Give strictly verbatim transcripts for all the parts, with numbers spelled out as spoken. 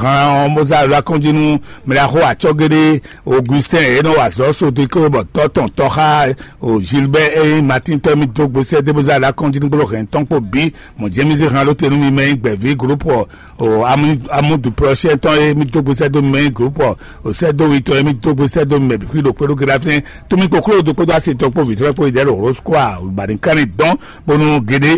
Han ɔ́, bó zá alɔ akɔ́njí nú mɛ ɖaxó acɔ́géɖé Augustin e nɔ wa azɔ̌ Sodikó bɔ tɔ́ tɔn tɔ́ xá o Gilbert e nyí Matín tɔ́ mì dó gbesɛ dé bó zá alɔ akɔ́njí nú gbóló hɛn tɔn kpó bǐ. Mɔ̌ jɛ́n mì zé han ɖó te nú mi mɛ nyí gbɛ̌ví glopɔ o amúdu prɔ́sɛ́ tɔn e mì dó gbesɛ dó mi mɛ nyí glopɔ o sɛ́ dó wi tɔn e mì dó gbesɛ dó mi mɛ bǐ xwí ɖo kpé ɖó gé ɖó afínɛ́. Tómi kpokpló ɖokpó dó asi tɔn kpó vǐtrɔ́ kpó yi dɛ̌ ɖo Roscoa Baɖinkánni dɔn bónú géɖé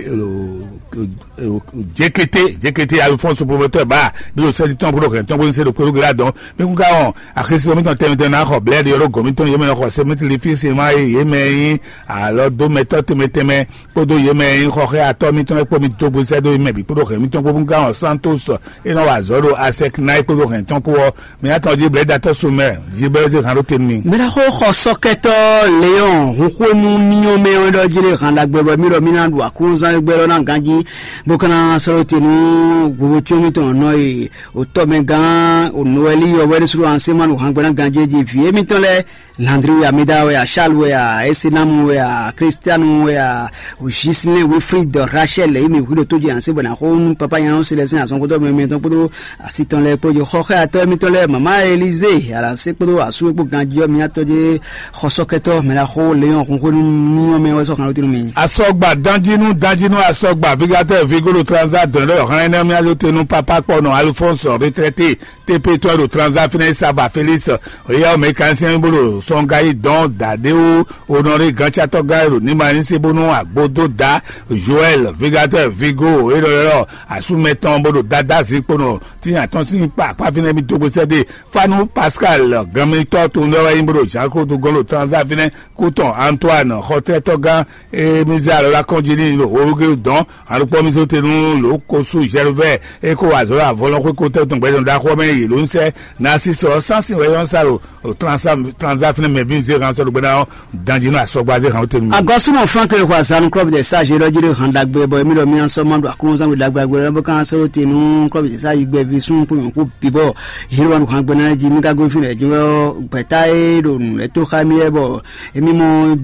jekete jekete Alphonse Promoteur ba bí o sɛ́ti tɔn bó ɖo hɛn tɔn bó ní se ɖo kpéɖó gblá dɔn. Mí kún ká wɔn axésí mitɔn tɛnmɛ tɛnmɛ ná xɔ blɛ́ɖi ɔ́ ɖo gɔ̌n mitɔn yě mɛ nɔ xɔ sɛmɛtli fí se má e yě mɛ nyí alɔ dó mɛtɔ́ tɛnmɛ tɛnmɛ kpódó yě mɛ nyí xɔxɛ́ atɔ́ mitɔn lɛ́ɛ kpó mi dó gbe sɛ́ dó yě mɛ bǐ kpódó hɛn mitɔn kpó bó kún ká wɔn Santos e nɔ wa azɔ̌ ɖo Asɛknáyi kpódó hɛn tɔn kpó ɔ́. Mɛ atɔn jí blɛ́ɖatɔ́ so mɛ jí bɛ́ zé hǎn ɖó te nú mi. Mɛ ná xó xɔ sɔkɛtɔ́ Leon hun xwénu míyɔn mɛ ɔ́ ɖɔ jí lé hǎn ɖagbe bɔ mí ɖɔ mí ná ɖu aklúnzán e gbɛ́ ɖɔ ná ganjí bó ka ná sɔ́ ɖó te nú vovo cyɔ́n mitɔn nɔ e wǒtɔ́ mɛ gán Noɛli ɔ́ wɛ ɖésú ɖo ansɛ́nmánu hǎngbɛ́ ná ganjí jí vǐ émítɔn lɛ́ɛ. Landri wɛ a, Mida wɛ a, Charles wɛ a, Esenamu wɛ a, Kristianu wɛ a, Gislin, Wilfrid, Rachel, yi mi hwi ɖo tó jí ansɛ́ bɔ ná xó nú papa nya ɔ́ Selɛstin azɔn kpódó mɛ mɛtɔn kpódó asi tɔn lɛ́ɛ kpó jí xɔxɛ atɔ́ émítɔn lɛ́ɛ mama Elize alasé kpódó asú e kpó ganjí ɔ́ mía tɔ́ jí xɔsɔkɛtɔ́ mɛ ná xó Leon xunxwénu míyɔn mɛ wɛ sɔ́ xan ɖó tínú mi. Asɔgba danjinu danjinu asɔgba vigatɛ vigolo transa dɔn ɖɔ hɛn ɛnɛ mía ɖó tenu papa kpɔnɔ Alphonse retraité T P tɔn ɖo transa fínɛ́ sava Félix. Eya mécanicien bó ɖo sɔngayi dɔn daɖéwu onɔré gancatɔ́ gán ɖo níma ní se bónú agbódó da Joël vigatɛ vigo e ɖɔ ɖɔ asúmɛ tɔn bó ɖo dada zikponɔ tínya tɔn sín kpa akpá fínɛ́ mi dó gbèsè dé Fanu Pascal gánmítɔ́ to ŋɖɛ wɛ nyí bó ɖo Jean Claude gɔ́n ɖo transa fínɛ́ kú tɔn Antoine xɔtɛ́tɔ́ gán e mi zé alɔ ɖó akɔ́njí n'i ɖo Olugelu dɔn. Alukpɔ́ mi zó te nú lǒ ko sú Gervais e ko wa azɔ̌ ɖo avɔlɔ́n xwé ko tɛ́ tɔn gbɛzɔn ɖaxó mɛ yě ló ń sɛ́ Narcisse ɔ́ sánsìn wɛ yɔ́n sa ɖo transa fínɛ́ mɛ bí mi zé han sɔ́ ɖo gbɛ́ ná ɔ́ danjí nú asɔgba zé han ó te nú mi. Agɔsúnɔ Frank e xɔ azanu klɔ́bu de sáze ɖɔ jí ɖo han ɖagbe bɔ émí ɖɔ mí asɔ ma ɖo aklúnɔzán ɖo ɖagbe agbe lɔ bó kan sɔ́ te nú klɔ́bu de sáze gbɛví súnnu kpó nyɔ̌kú bǐ bɔ yě ɖo wá ɖo han gbɛ ná jí mí ka gosín lɛ̌ jí wɛ ɔ́ gbɛ̌ta e ɖo nǔ lɛ́ tó xá mì wɛ bɔ émí mɔ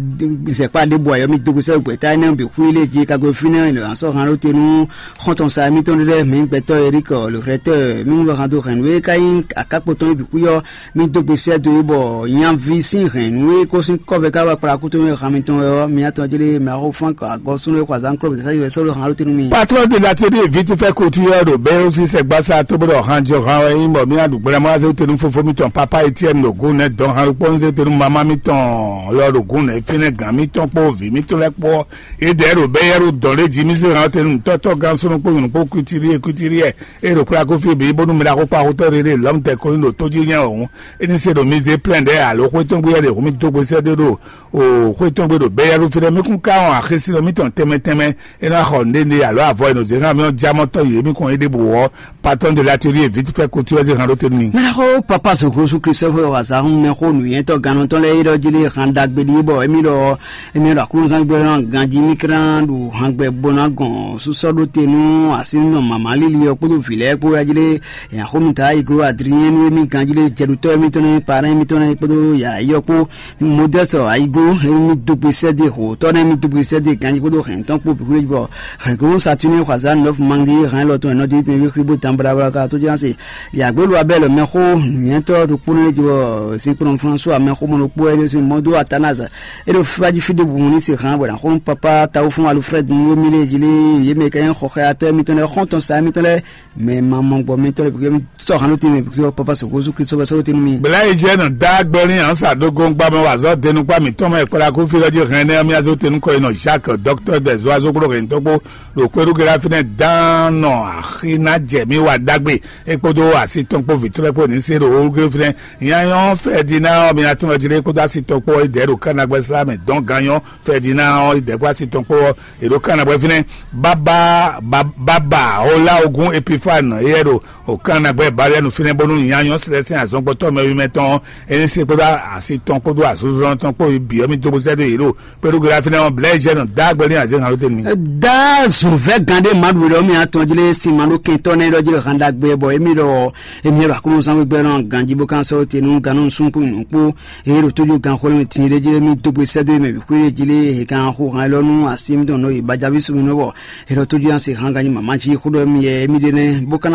zɛkpá ɖěbǔ ayɔ mì dó gosɛ́ gbɛ̌ta énɛ́ bǐ xwí lé jí ka gosín fínɛ́ lɔ asɔ han ɖó te nú xɔ́ntɔn sa émítɔn ɖé lɛ́ɛ mǐ gbɛtɔ́ Erik le rɛtɛ́ mí mú bɔ han dó hɛ̌nnu e ka nyí akákpo tɔn é bǐ xwí ɔ́ mì dó gbe sɛ́ dó e bɔ nyaví sín hɛ̌nnu e ko sín kɔ́vɛ ká wá kplá kútɔ́ e han mitɔn wɛ ɔ́, mi atɔn jlé mɛ axó fán agɔ́súnú e xɔ azǎn klɔ́ bǐ sɛ́ wɛ sɔ́ ɖo han ɖó te nú mi. Patron de la télé vite fait couture ɖo bɛ́rúsí sɛgbásá tó bó ɖɔ han jɔ han wɛ nyí bɔ mí aɖu gblamɔ azé tenu fofo mitɔn papa Etienne ɖo gún nɛ dɔn han ɖokpó nzé tenu mama mitɔn lɔ ɖo gún nɛ fínɛ́ gǎn mitɔn kpó vǐ mitɔn lɛ́ɛ kpó. Yědɛɛ ɖo bɛ́ yɛ́ ɖo dɔn ɖé jí mí zé han tenu tɔ́tɔ́ gán súnú kpó nyɔ̌nu kpó kwítírí e kwítírí e e ɖo kplá kó fí bǐ bónú mɛ ɖaxó kpó axótɔ́ ɖé ɖe lɔ̌m tɛ kó nyí ɖo tó jí nyɛ wɛ hǔn. É ní se ɖo mi zé plɛ́n ɖɛ̌ alo xwé tɔn gbé wɛ ɖe hǔn mi dó gbe sɛ́ dó ɖo o xwé tɔn gbé ɖo bɛ́ yɛ́ ɖó fínɛ́ mí kún ká wɔn axésínɔ mítɔn tɛnmɛ tɛnmɛ é ná xɔ nǔɖé alo avɔ e nɔ zě xá mì ɔ́ já mɔ tɔ́ yě mí kɔn é ɖěbǔ ɔ́. Patɔ́n de latelier vite fait couture zé han ɖó te nú mi. Mɛ ná xó papa zogosu Christophe wazahun mɛ xó nǔnyɛtɔ gannɔtɔn lɛ́ɛ yi ɖɔ jí lé han ɖagbe ɖi bɔ émí ɖɔ émí ɖɔ aklúnɔzán gbé ná ganjí mí kran ɖo hangbɛ bó ná gɔn súsɔ ɖó te nú asínú mama líli ɔ́ kpódó vǐ lɛ́ɛ kpó wɛ jí lé. Yě ná xó mi ta yi gló Adrien nú émí ganjí lé jɛɖutɔ́ émítɔn nɛ́ parɛn émítɔn nɛ́ kpódó yǎyɔ́ kpó Modeste ayiglo émi dógbe sɛ́dé hǒtɔ́ nɛ́ mi dógbe sɛ́dé ganjí kpódó hɛ̌ntɔn kpó bǐ xwlé bɔ hɛ̌ngló Saturnin xɔ azǎn nɔ́fu mangi hɛn lɔ tɔn ɛnɔdí mɛ wí xwlí bó dan blablabla ka tó ján se yǎgbélu abɛ́lɔ mɛxó nǔnywɛ́tɔ́ ɖokpó nɛ́ lɛ́ jí bɔ sinkplɔ́n François mɛxómɔ ɖokpó wɛ ɖésú mɔdó Atanaze é ɖo fífá jí fí ɖěbǔ ní se hǎn bɔ ná xó nú papá tawúfún Alfred nú émí lée jí lé yě mɛ ka nyí xɔxɛyatɔ́ émítɔn lɛ́ɛ xɔ́ntɔn sa émítɔn lɛ́ɛ mɛ ma mɔ gbɔ mɛ tɔn lɛ bi sɔ hanu te mɛ bi papa sɔgɔ su kristu bɛ sɔrɔ te nu mi. Bla yi jɛ nɔ da gbɛlin ansa dogo gba mɛ wazɔ denu kpa mi tɔn mɛ kpla ko fi lɔ ji hɛn ne mi azo tenu kɔ inɔ Jacques docteur des oiseaux kplo hɛn tɔgbo ɖo kpeɖu gɛlɛ afi nɛ dan nɔ axi na jɛ mi wa dagbe ekpodo asi tɔn kpo vitɔlɛ kpo ni se ɖo wo gɛlɛ fi nɛ nyanyɔ fɛ di na mi atún lɔ ji ɖe kpodo asi tɔn kpo idɛ ɖo kanagbɛ sla mɛ dɔn ganyɔ fɛ di na ɔ idɛ kpo asi tɔn kpo ɔ È ɖo kan na bɔ fínɛ́ bábá bábá Olaogun Epifane éyɛ́ ɖo òkan na gbɛ Balianu fínɛ́ bónú nyanyɔ sílẹ̀ sín azɔngbɔtɔ́ mɛwimɛ tɔn ɔ́, é ní se kpódó asi tɔn kpódó azɔzɔlɔn tɔn kpó bǐ ɔ́ mì dó bó sɛ́ dó yě ɖo kpéɖó gbe fínɛ́ ɔ́, blɛ̌ jɛ nɔ dá gbɛ ní azě hǎn ló tɛ́ nú mì. Dá zǔnvɛ́ gán ɖé Maɖu ɖɔ mì atɔn jlé sin ma ɖó kɛntɔ́ nɛ́ ɖɔ jlé hǎn ɖagbe bɔ émí ɖɔ émí ɖɔ Aklúnɔzán gbígbɛ́ nɔ ganjí bó kán sɔ́ te nú gannú nukúnnú kpó eye ɖo tójú ganxwlɛ́nú tin ɖé jí mì dó gbe sɛ́ dó mɛ bǐ xwé jí lé he kan xo han élɔ́ nú así mítɔn nɔ yi bajaví sumínɔ bɔ è nɔ tójú nya se han ganjí mama jí xó ɖɔ mì yɛ émí ɖe nɛ́ bó ka ná